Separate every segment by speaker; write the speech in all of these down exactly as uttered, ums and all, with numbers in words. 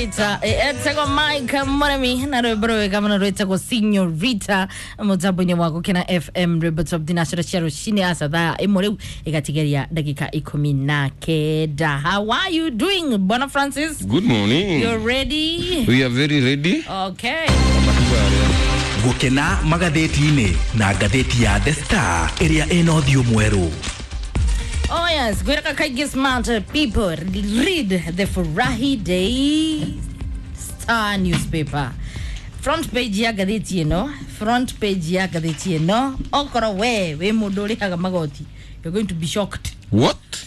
Speaker 1: Senorita etagwo Mike Muremi na rwimbo rwega muno rwitagwo Senorita mutambo-inĩ wa Gũkena F M rwimbo top thinacera cia rũcinĩ aca thaa ĩmwe rĩu ĩgatigeria ndagĩka ikũmi na kenda. How are you doing, Bwana Francis?
Speaker 2: Good morning.
Speaker 1: You're ready?
Speaker 2: We are very ready.
Speaker 1: Okay.
Speaker 3: Gũkena magathĩti-inĩ na ngathĩti ya The Star ĩrĩa ĩna ũthiũ mwerũ.
Speaker 1: Oh yes, gwĩraka kaingĩ smart people read the Furahi Day Star newspaper. Front page ya ngathĩti ĩno, front page ya ngathĩti ĩno, okorwo we wĩ mũndũ ũrĩhaga magoti, you're going to be shocked.
Speaker 2: What?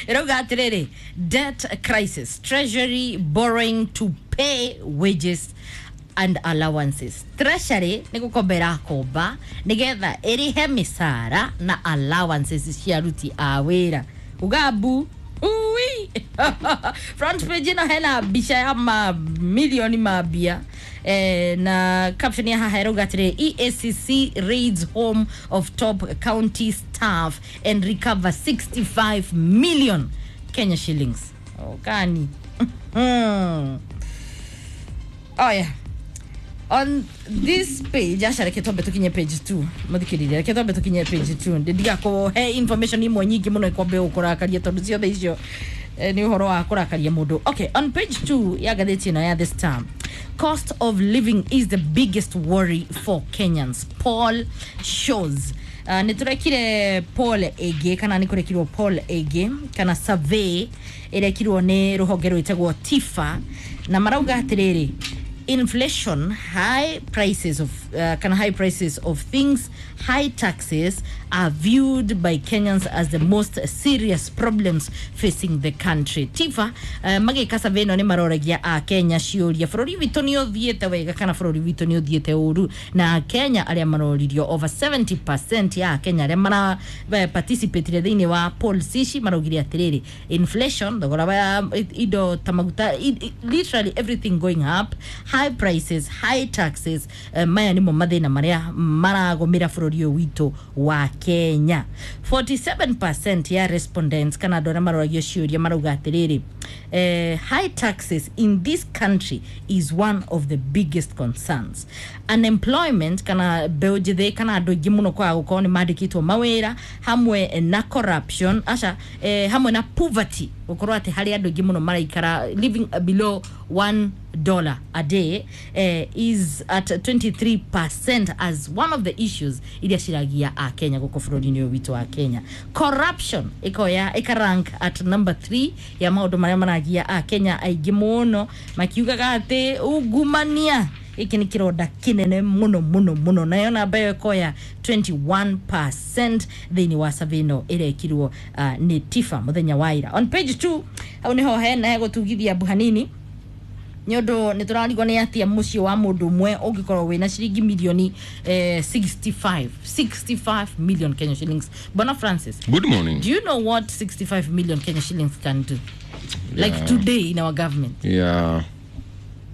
Speaker 1: Ĩrauga atĩrĩrĩ, debt crisis, treasury borrowing to pay wages and allowances. Treasury nĩ gũkomba ĩrakomba nĩgetha ĩrĩhe mĩcara na allowances cia aruti a wĩra. Ugambu ui. Front page ĩno hena mbica ya mamilioni ma mbia eh, na caption ya haha ĩrauga atĩrĩrĩ, E A C C raids home of top county staff and recover sixty-five million Kenya shillings. Okani. Oh yeah. On this page, aca reke twambe tukinye page two. Muthikiririe, reke twambe tukinye page two. Ndigakuhe information imwe nyingĩ mũno ikwambe gũkũrakaria tondũ ciothe icio eh, nĩ ũhoro wa kũrakaria mũndũ. Okay, on page two ya ngathĩti ĩno ya The Star, cost of living is the biggest worry for Kenyans. Poll shows. Uh, nĩ tũrekire poll ĩngĩ kana nĩ kũrekirwo poll ĩngĩ kana survey ĩrekirwo nĩ rũhonge rwĩtagwo TIFA na marauga atĩrĩrĩ, inflation, high prices of uh, kind of high prices of things, high taxes are viewed by Kenyans as the most serious problems facing the country. TIFA uh, magĩka survey ĩno nĩ maroragia a Kenya ciũria bũrũri witũ nĩ ũthiĩte wega kana bũrũri witũ nĩ ũthiĩte ũru, na Kenya arĩa maroririo over seventy percent ya Kenya arĩa mara participate thĩinĩ wa polls ici maraugire atĩrĩrĩ, inflation, thogora wa indo ta maguta, literally everything going up, high prices, high taxes, uh, maya nimo mathĩna marĩa maragũmĩra bũrũri ũyũ witũ wa Kenya. forty-seven percent ya respondents kana andũ arĩa maroragio ciũria marauga atĩrĩrĩ, eh, high taxes in this country is one of the biggest concerns. Unemployment kana mbeũ njĩthĩ kana andũ aingĩ mũno kwaga gũkorwo nĩ mandĩkĩtwo mawĩra, hamwe na corruption, aca eh, hamwe na poverty, gũkorwo atĩ harĩ andũ aingĩ mũno maraikara living below one dollar a day, eh, is at twenty-three percent as one of the issues iria ciragia a Kenya gũkũ bũrũri-inĩ ũyũ witũ wa Kenya. Corruption ikoya ikarank at number three ya maũndũ marĩa maragia a Kenya aingĩ mũno, makiugaga atĩ ungumania iki nĩ kĩronda kĩnene mũno mũno mũno, nayo namba ĩyo ĩkoya twenty-one percent thĩinĩ wa survey ĩno ĩrekirwo uh, nĩ TIFA mũthenya wa ira. On page two hau nĩho hena hegũtugithia mbu hanini nĩ ũndũ nĩ tũrarigwo nĩ atia mũciĩ wa mũndũ ũmwe ũngĩkorwo wĩna ciringi milioni eh, sixty-five, sixty-five million Kenya shillings. Bwana Francis,
Speaker 2: good morning.
Speaker 1: Do you know what sixty-five million Kenya shillings can do? Like
Speaker 2: yeah.
Speaker 1: Today in our government.
Speaker 2: Yeah.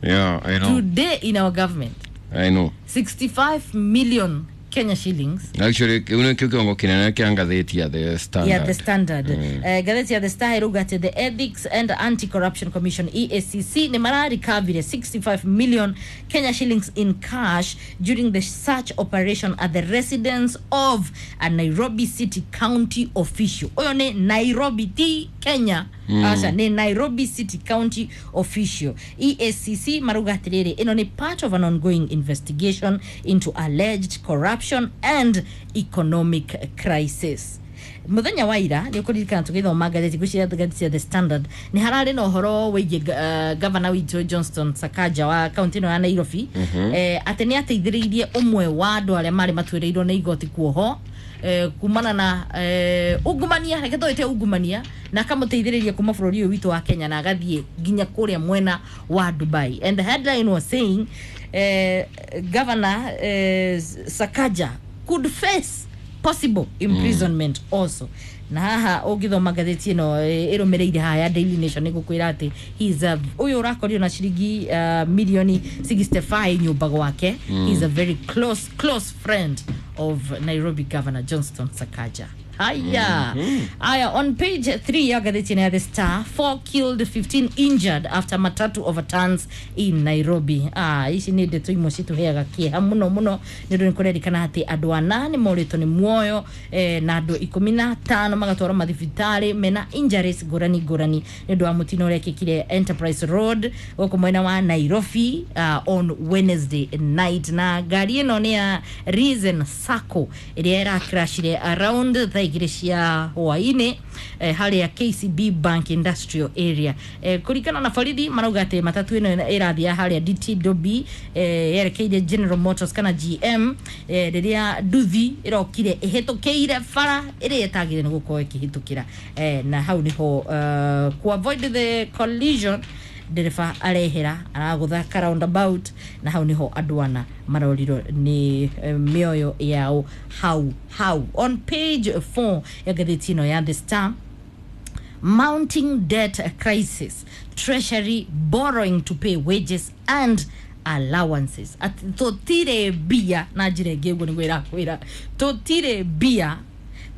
Speaker 2: Yeah, I know.
Speaker 1: Today in our government.
Speaker 2: I know.
Speaker 1: sixty-five million Kenya shillings.
Speaker 2: Actually, uno kĩo kĩongo kĩnene kĩa ngathĩti ya The Standard.
Speaker 1: Yeah, The Standard.
Speaker 2: Mm.
Speaker 1: Uh, ngathĩti ya The Star ĩrauga atĩ the Ethics and Anti-Corruption Commission E A C C nĩ mararikavire sixty-five million Kenya shillings in cash during the search operation at the residence of a Nairobi City County official. Ũyũ nĩ Nairobi ti Kenya. Mm. Aca nĩ Nairobi City County official. E A C C marauga atĩrĩrĩ, ĩno nĩ part of an ongoing investigation into alleged corruption and economic crisis. Muthenya wa ira nĩ ũkũririkana tũgĩthoma ngathĩti ngwĩciria ngathĩti ya The Standard nĩ hararĩ na ũhoro wĩgiĩ uh, gavana witũ Johnston Sakaja wa kaunti ĩno ya Nairobi,
Speaker 2: mm-hmm.
Speaker 1: eh, atĩ nĩ ateithĩrĩirie ũmwe wa andũ arĩa marĩ matuĩrĩirwo nĩ igoti kuoho eh, kumana na eh, ungumania, reke tũĩte ungumania, na akamũteithĩrĩria kuma bũrũri ũyũ witũ wa Kenya na agathiĩ nginya kũrĩa mwena wa Dubai. And the headline was saying eh, Governor eh, Sakaja could face possible imprisonment mm. also. Na haha ũngĩthoma ngathĩti ĩno ĩrũmĩrĩire haha ya Daily Nation nĩgũkwĩra atĩ he is a ũyũ ũrakorio na ciringi uh, milioni sixty-five nyũmba gwake. Mm. He is a very close close friend of Nairobi Governor Johnston Sakaja. Haya. Aya, on page three ya ngathĩti ĩno ya The Star, four killed, fifteen injured after matatu overturns in Nairobi. Ah, ici nĩ ndeto imwe citũheaga kĩeha mũno mũno nĩ ũndũ nĩ kũrerikana atĩ andũ ana nĩ morĩtwo nĩ muoyo eh, na andũ ikũmi na atano magatwarwo mathibitarĩ mena injuries ngũrani ngũrani nĩ ũndũ wa mũtino ũrĩa ũrekĩkire Enterprise Road gũkũ mwena wa Nairobi uh, on Wednesday night. Na ngari ĩno nĩ ya Reason Sacco ĩrĩa ĩrakrashire around thaa igĩrĩ cia hwainĩ eh, harĩa K C B Bank Industrial Area. eh, kũringana na borithi marauga atĩ matatu ĩno ĩrathiĩ harĩa D T W eh, yerekeire General Motors kana G M eh, rĩrĩa nduthi ĩrokire ĩhĩtũkĩire bara ĩrĩa ĩtagĩrĩire nĩ gũkorwo ĩkĩhĩtũkĩra eh, na hau nĩho uh, ku avoid the collision ndereba arehera aragũtha ka roundabout na hau niho andũ ana marorirwo nĩ eh, mĩoyo yao hau hau. On page four ya ngathĩti ĩno ya The Star, mounting debt crisis, Treasury borrowing to pay wages and allowances. Ati tũtirĩ mbia, na njĩra ĩngĩ ũguo nĩguo ĩrakwĩra tũtirĩ mbia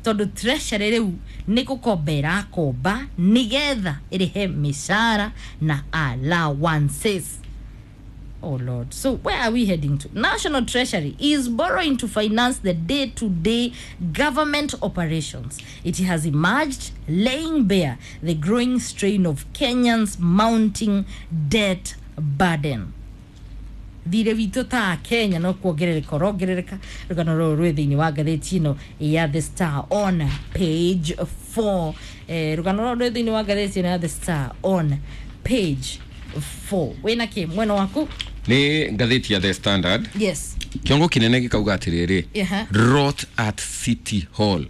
Speaker 1: tondũ Treasury rĩu nĩ gũkomba ĩrakomba nĩgetha ĩrĩhe mĩcara na allowances. Oh Lord. So where are we heading to? National Treasury is borrowing to finance the day-to-day government operations. It has emerged laying bare the growing strain of Kenyans' mounting debt burden. Thirĩ witũ ta Kenya no kuongerereka ũrongerereka. Rũgano rũrũ rwĩ thĩinĩ wa ngathĩti ĩno ya The Star on page four. eh, rũgano rũrũ rwĩ thĩinĩ wa ngathĩti ĩno ya The Star on page four. Wĩna kĩ mwena waku?
Speaker 2: Nĩ ngathĩti ya The Standard.
Speaker 1: Yes.
Speaker 2: Kĩongo kĩnene gĩkauga atĩrĩrĩ,
Speaker 1: Yeah.
Speaker 2: "Rot at City Hall."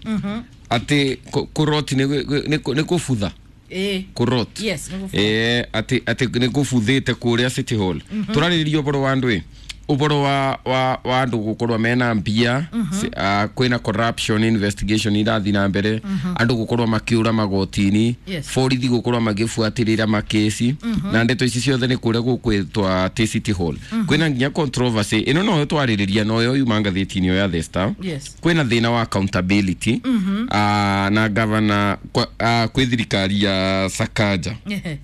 Speaker 2: Atĩ kũ- kũrot nĩ nĩ- nĩ kũbutha.
Speaker 1: Eh.
Speaker 2: Kũrot.
Speaker 1: Yes, nĩ kũbutha.
Speaker 2: Eh, atĩ atĩ nĩ kũbuthĩte kũrĩa City Hall. Tũrarĩrĩria ũhoro wa andũ ĩ ũhoro wa wa wa andũ gũkorwo mena mbia. Si- ah, kwĩna corruption investigation irathiĩ na mbere, andũ gũkorwo makĩũra magoti-inĩ,
Speaker 1: Yes.
Speaker 2: borithi gũkorwo magĩbuatĩrĩra makĩci, na ndeto ici ciothe nĩ kũrĩa gũkwĩtwa atĩ City Hall kwĩna nginya controversy ĩno noyo twarĩrĩria, noyo yuma ngathĩti-inĩ ĩyo ya The Star.
Speaker 1: Yes.
Speaker 2: Kwĩna thĩna wa accountability ah, na gavana kwa- ah, kwĩ thirikari ya Sakaja.
Speaker 1: Yeah.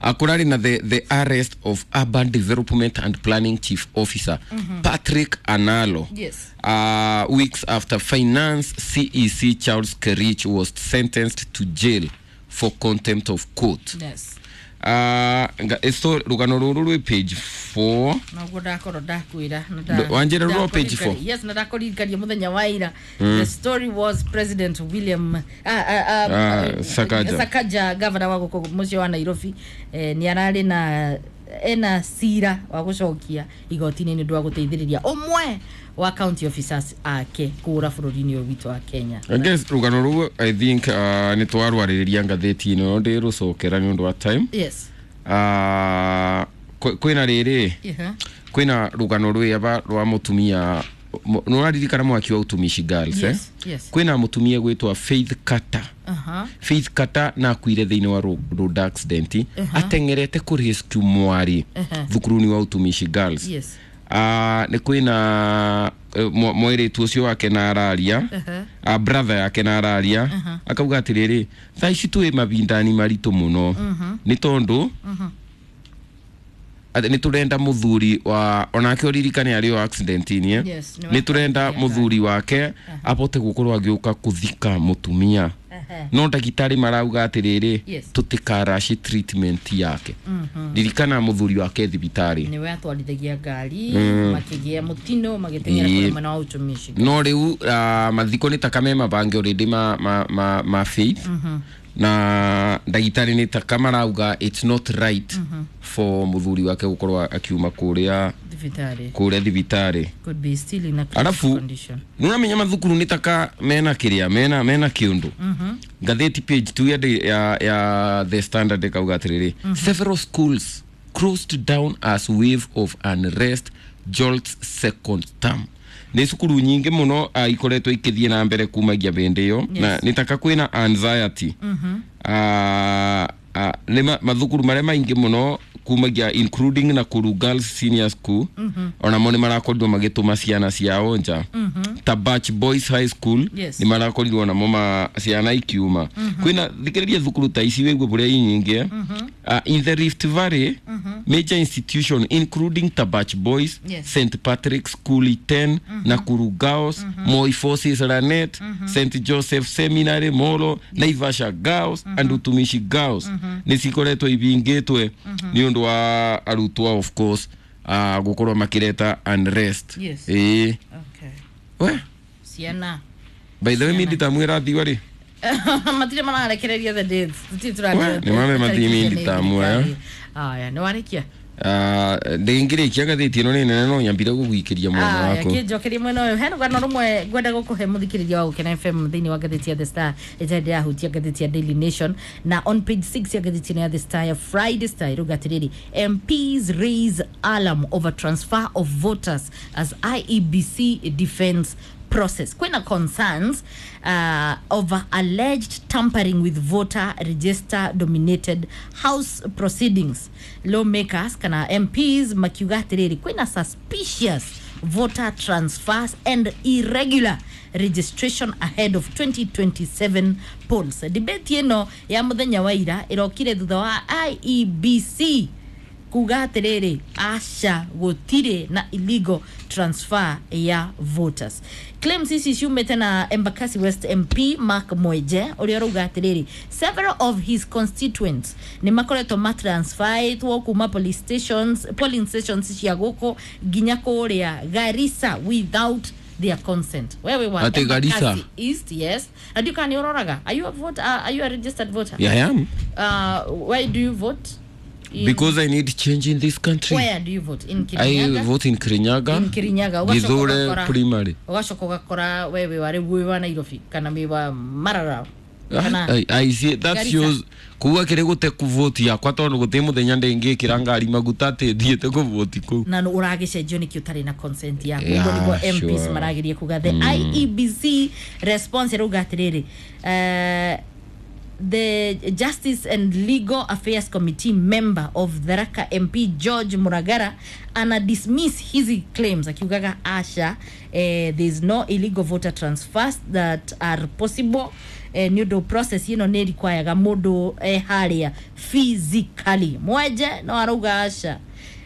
Speaker 2: uh, kũrarĩ na the, the arrest of Urban Development and Planning Chief Officer Patrick Analo
Speaker 1: Yes.
Speaker 2: uh, weeks after Finance C E C Charles Kerich was sentenced to jail for contempt of court.
Speaker 1: Yes.
Speaker 2: uh, nga- so rũgano rũrũ rwĩ page four.
Speaker 1: Noguo ndakorwo ndakwĩra na
Speaker 2: Ndo- wanjĩra rwa page four.
Speaker 1: Yes, na ndakũririkania mũthenya wa ira the story was President William ah, ah, ah,
Speaker 2: Ah, Sakaja.
Speaker 1: Sakaja, governor wa gũkũ mũciĩ wa Nairobi, eh, nĩ ararĩ na ena cira wa gũcokia igoti-inĩ nĩ ũndũ wa gũteithĩrĩria ũmwe wa county officers ake kũũra bũrũri-inĩ ũyũ witũ wa Kenya.
Speaker 2: I guess rũgano rũu I think uh, nĩ twarwarĩrĩria ngathĩti-inĩ ĩno, ndĩrũcokera nĩ ũndũ wa time.
Speaker 1: Yes.
Speaker 2: uh, kwĩ- kwĩna rĩrĩ,
Speaker 1: yeah.
Speaker 2: kwĩna rũgano rwĩaba rwa mũtumia. Nĩ ũraririkana mwaki wa Utumishi Girls, eh?
Speaker 1: Yes, yes.
Speaker 2: Kwĩna mũtumia gwĩtwa Faith Carter.
Speaker 1: uh-huh.
Speaker 2: Faith Carter na akuire thĩinĩ wa ro- road accident ateng'erete kũ rescue mwari
Speaker 1: Uh-huh.
Speaker 2: thukuru-inĩ wa Utumishi Girls.
Speaker 1: Yes.
Speaker 2: Ah, nĩ kwĩna eh, mwa- mwĩrĩtu ũcio wake na araria,
Speaker 1: Uh-huh.
Speaker 2: uh, brother yake na araria akauga atĩrĩrĩ, thaa ici twĩ mabindani maritũ mũno nĩ tondũ atĩ nĩ tũrenda mũthuri wa onake ũririkane arĩ o accident-inĩ, eh?
Speaker 1: Yes, nĩ
Speaker 2: Nĩ tũrenda
Speaker 1: wa-
Speaker 2: mũthuri wake abote gũkorwo agĩũka kũthika mũtumia,
Speaker 1: Uh-huh.
Speaker 2: no ndagĩtarĩ marauga atĩrĩrĩ,
Speaker 1: Yes.
Speaker 2: tũtikaraci treatment yake. Ririkana mũthuri wake thibitarĩ.
Speaker 1: Nĩwe atwarithagia ngari makĩgĩa mũtino magĩteng'era
Speaker 2: Ĩĩ.
Speaker 1: kũrĩa mwena wa Utumishi.
Speaker 2: No rĩu uh, mathiko nĩ taka me mabange already ma, ma, ma, ma Faith, na ndagĩtarĩ nĩ taka marauga it's not right for mũthuri wake gũkorwo akiuma kũrĩa
Speaker 1: thibitarĩ.
Speaker 2: Kũrĩa thibitarĩ.
Speaker 1: Could be still in a critical
Speaker 2: Alafu
Speaker 1: condition.
Speaker 2: nĩũramenya mathukuru nĩ taka mena kĩrĩa mena mena kĩũndũ. Ngathĩti page two ya, ya, ya The Standard ĩkauga atĩrĩrĩ, "Several schools closed down as wave of unrest jolts second term." Nĩ cukuru nyingĩ mũno uh, ikoretwo ikĩthiĩ na mbere kumagia hĩndĩ ĩyo
Speaker 1: Yes.
Speaker 2: na nĩ taka kwĩna anxiety. uh, uh, nĩ ma- mathukuru marĩa maingĩ mũno kumagia, including Nakuru Girls Senior School, onamo nĩ marakorirwo magĩtũma ciana ciao nja. Tabach Boys High School
Speaker 1: Yes.
Speaker 2: nĩ marakorirwo namo ma ciana ikiuma kwĩna thikĩrĩria thukuru ta ici wĩgue bũrĩa inyingĩ uh, in the Rift Valley major institution including Tabach Boys,
Speaker 1: Yes.
Speaker 2: Saint Patrick School Iten, Nakuru Girls, Moi Forces Lanet, Saint Joseph Seminary Molo, Naivasha Girls and Utumishi Girls nĩ cikoretwo ibingĩtwe nĩ ũndũ wa arutwo of course uh, gũkorwo makĩreta unrest.
Speaker 1: Yes.
Speaker 2: Ĩĩ.
Speaker 1: Okay.
Speaker 2: We,
Speaker 1: Ciana
Speaker 2: by the way mi nditamwĩra thiwa rĩ
Speaker 1: matirĩ mararekereria the dates. Tũtirĩ
Speaker 2: We,
Speaker 1: tũrathiĩ
Speaker 2: nĩ mame mathimi nditamu, eh?
Speaker 1: Aya, nĩ warĩkia.
Speaker 2: Ndĩngĩrĩkia ngathĩti ĩno nĩ nene no nyambire gũgwikĩria mwena
Speaker 1: Aya,
Speaker 2: waku.
Speaker 1: kĩnjokerie mwena ũyũ hena rũgano rũmwe ngwenda gũkũhe mũthikĩrĩria wa Gũkena F M thĩinĩ wa ngathĩti ya The Star ĩtarĩ ndĩrahutia ngathĩti ya Daily Nation, na on page six ya ngathĩti ĩno ya The Star ya Friday Star ĩrauga atĩrĩrĩ, M Ps raise alarm over transfer of voters as I E B C defense process. Kwĩna concerns uh, over alleged tampering with voter register dominated house proceedings, lawmakers kana M Ps makiuga atĩrĩrĩ kwĩna suspicious voter transfers and irregular registration ahead of twenty twenty-seven polls. Debate ĩno ya mũthenya wa ira ĩrokire thutha wa I E B C kuga atĩrĩrĩ aca gũtirĩ na illegal transfer ya voters. Claims ici ciumĩte na Embakasi West M P Mark Mweje ũrĩa ũrauga atĩrĩrĩ several of his constituents nĩ makoretwo matransferĩtwo kuma police stations, polling stations cia gũkũ nginya kũrĩa Garissa without their consent. Wewe wa
Speaker 2: Ati Garissa?
Speaker 1: Embakasi East, yes, na ndiũ kana nĩ ũroraga, are you a voter, uh, are you a registered voter?
Speaker 2: Yeah, I am.
Speaker 1: uh, why do you vote in,
Speaker 2: Because I need change in this country.
Speaker 1: Where do you vote? In
Speaker 2: I
Speaker 1: Kirinyaga?
Speaker 2: vote in Kirinyaga.
Speaker 1: In Kirinyaga. Ũgacoka
Speaker 2: Githure
Speaker 1: ũgakora-
Speaker 2: Primary.
Speaker 1: Ũgacoka ũgakora we wĩ wa rĩu wĩ wa Nairobi kana wĩ wa Marara kana
Speaker 2: I, I see that
Speaker 1: Garissa.
Speaker 2: Shows kuga kĩrĩ gũte kuvoti yakwa tondũ gũtĩ mũthenya ndĩngĩkĩra ngari maguta atĩ thiĩte kũvoti kũu.
Speaker 1: Na nũ ũragĩcenjio nĩkĩ ũtarĩ na consent yaku?
Speaker 2: Yeah,
Speaker 1: Ũguo nĩguo M Ps
Speaker 2: sure.
Speaker 1: marageria kuga. The I E B C response ĩrauga atĩrĩrĩ, uh, the Justice and Legal Affairs Committee member of Tharaka M P George Muragara ana dismiss hizi claims akiugaga asha, eh, there is no illegal voter transfers that are possible, eh, nĩ ũndũ process ĩno nĩ requiraga mũndũ eh, harĩa physically. Mweje no arauga aca.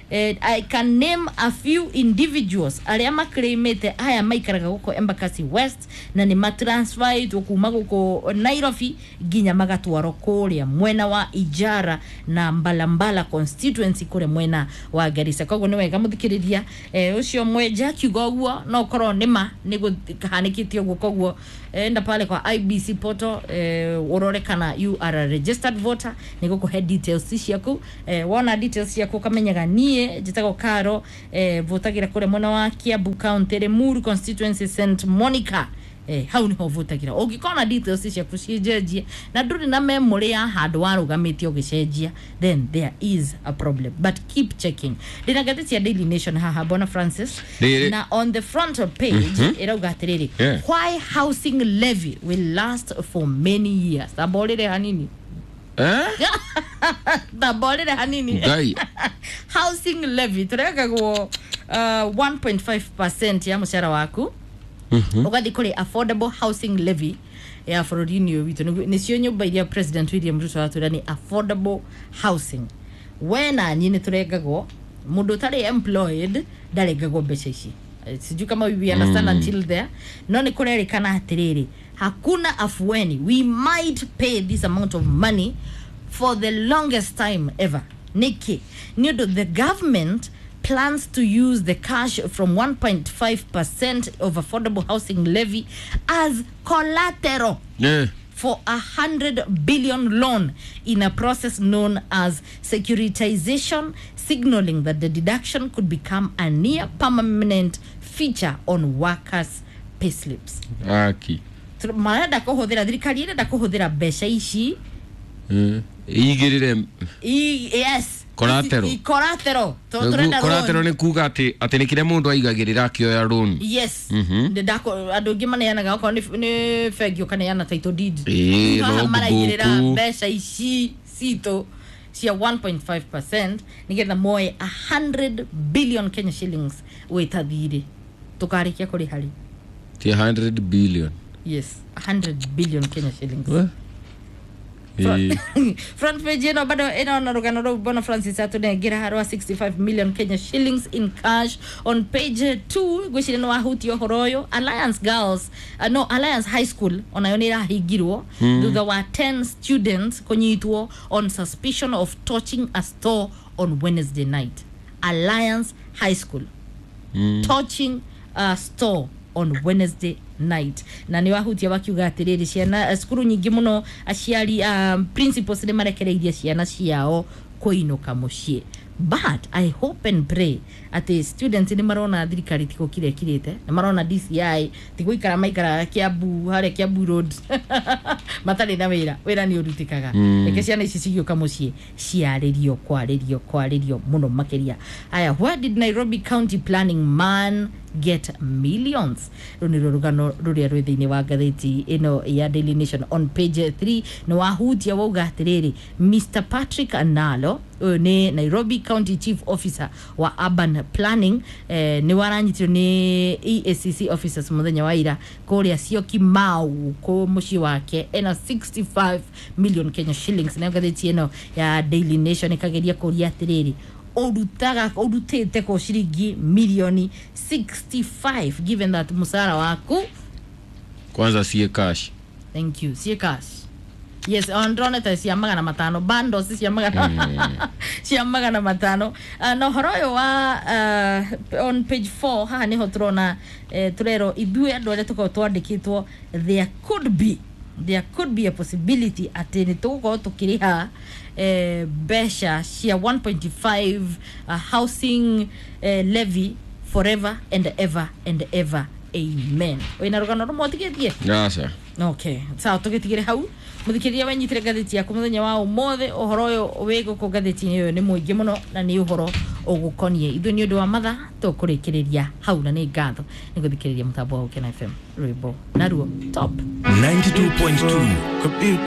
Speaker 1: Eh, I can name a few individuals arĩa maclaimĩte aya maikaraga gũkũ Embakasi West na nĩ matransferĩtwo kuma gũkũ Nairobi nginya magatwarwo kũrĩa mwena wa Ijara na Mbalambala constituency kũrĩa mwena wa Garissa. Koguo nĩ wega mũthikĩrĩria, eh, ũcio mwenja akiuga ũguo no korwo nĩ ma nĩ gũhanĩkĩte ũguo. Koguo eh, enda pale kwa I E B C portal, eh, ũrore kana you are a registered voter nĩ gũkũhe details ciaku. eh, wona details ciaku ũkamenyaga niĩ njĩtagwo Karo, eh, votagĩra kũrĩa mwena wa Kiambu County, Limuru constituency, Saint Monica, eh, hau niho votagĩra. Ũngĩkorwo na details ciaku ciĩnjenjie na ndũrĩ na memory ya handũ warũgamĩte ũgĩcenjia, then there is a problem, but keep checking. Ndĩna ngathĩti ya Daily Nation haha, Bona Francis,
Speaker 2: Rĩrĩ.
Speaker 1: na on the front page ĩrauga atĩrĩrĩ,
Speaker 2: Yeah.
Speaker 1: why housing levy will last for many years. Tamborĩre hanini.
Speaker 2: Eh?
Speaker 1: Tamborĩre hanini.
Speaker 2: Ngai.
Speaker 1: Housing levy tũrekagwo uh, one point five percent ya mũcara waku ũgathiĩ kũrĩ affordable housing levy ya bũrũri-inĩ ũyũ witũ. Nĩguo- nĩcio nyũmba iria President William Ruto atwĩra nĩ affordable housing. We na niĩ nĩ tũrengagwo. Mũndũ ũtarĩ employed ndarengagwo mbeca ici. Eh, sijui kama we understand mm. until there. No nĩ kũrerĩkana atĩrĩrĩ hakuna afueni, we might pay this amount of money for the longest time ever. Nĩkĩ? Nĩ ũndũ the government plans to use the cash from one point five percent of affordable housing levy as collateral
Speaker 2: Yeah.
Speaker 1: for a hundred billion loan in a process known as securitization, signaling that the deduction could become a near permanent feature on workers' payslips.
Speaker 2: Aki.
Speaker 1: Tũ- marenda kũhũthĩra, thirikari ĩrenda kũhũthĩra mbeca ici
Speaker 2: Eh, igĩrĩre
Speaker 1: I, yes.
Speaker 2: Collateral.
Speaker 1: I- collateral. Tũ- tũrenda
Speaker 2: collateral
Speaker 1: loan.
Speaker 2: nĩ kuga atĩ atĩ nĩ kĩrĩa mũndũ aigagĩrĩra akĩoya loan.
Speaker 1: Yes.
Speaker 2: Mhm.
Speaker 1: Ndĩ ndako- andũ aingĩ maneanaga okorwo nĩ nĩ bengi ũkaneana title deed.
Speaker 2: Ĩĩ,
Speaker 1: Rĩu haha
Speaker 2: logbook.
Speaker 1: maraigĩrĩra mbeca ici citũ cia one point five percent nĩgetha moe one hundred billion Kenya shillings wĩta thirĩ tũkarĩkia kũrĩha rĩ.
Speaker 2: Ti one hundred billion.
Speaker 1: Yes, one hundred billion Kenya shillings.
Speaker 2: We? Ĩ.
Speaker 1: Front page ĩno bado ĩno rũgano rũu bona Francis atũnengera rwa sixty-five million Kenya shillings in cash. On page two ngwĩciria nĩ wahutia ũhoro ũyũ, Alliance Girls, uh, no, Alliance High School onayo nĩ ĩrahingirwo thutha wa ten students kũnyitwo on suspicion of torching a store on Wednesday night. Alliance High School torching a store on Wednesday night. Na nä wahutia wakiuga atä ciana eh, cukuru nyingä må no aciari, um, principals nä marekereirie ciana ciao kũinũka mũciĩ, but I hope and pray atĩ students nĩ marona thirikari tigo kire kirĩte, nĩ marona D C I tigũikara maikaraga Kiambu harĩa Kiambu Road matarĩ na wĩra. Wĩra nĩ ũrutĩkaga. Reke ciana ici cigĩũka mũciĩ ciarĩrio kwarĩrio kwarĩrio mũno makĩria. Aya, where did Nairobi County planning man get millions? Rũ nĩruo rũgano rũrĩa rwĩ thĩinĩ wa ngathĩti ĩno ya Daily Nation on page three. Nĩ wahutia wauga atĩrĩrĩ, Mister Patrick Analo, ũyũ nĩ Nairobi County Chief Officer wa Urban Planning, eh, nĩ waranyitirwo nĩ E A C C officers mũthenya wa ira kũrĩa Syokimau kũ mũciĩ wake ena sixty-five million Kenya shillings. Nayo ngathĩti ĩno ya Daily Nation ĩkageria kũria atĩrĩrĩ, ũrutaga ũrutĩte kũ ciringi milioni sixty-five given that mũcara waku
Speaker 2: Kwanza sie cash.
Speaker 1: Thank you. Sie cash, yes. Ndronete cia magana matano, bundles cia magana cia magana matano. uh, na ũhoro ũyũ wa uh, on page four haha nĩho tũrona eh, tũrerwo ithuĩ andũ arĩa tũkoragwo twandĩkĩtwo, there could be there could be a possibility atĩ nĩ tũgũkorwo tũkĩrĩha eh, mbeca cia one point five uh, housing eh, levy forever and ever and ever, amen. Wĩna rũgano rũmwe ũtigĩtie?
Speaker 2: Aca.
Speaker 1: Okay, sawa, tũgĩtigĩre hau. Mũthikĩrĩria, wenyitire ngathĩti yaku mũthenya wa ũmũthĩ, ũhoro ũyũ wĩ gũkũ ngathĩti-inĩ ũyũ nĩ mũingĩ mũno na nĩ ũhoro ũgũkoniĩ ithuĩ. Nĩ ũndũ wa mathaa tũkũrĩkĩrĩria hau, na nĩ ngatho nĩ gũthikĩrĩria mũtambo wa Gũkena F M, rwĩmbo naruo top.
Speaker 3: ninety-two point two.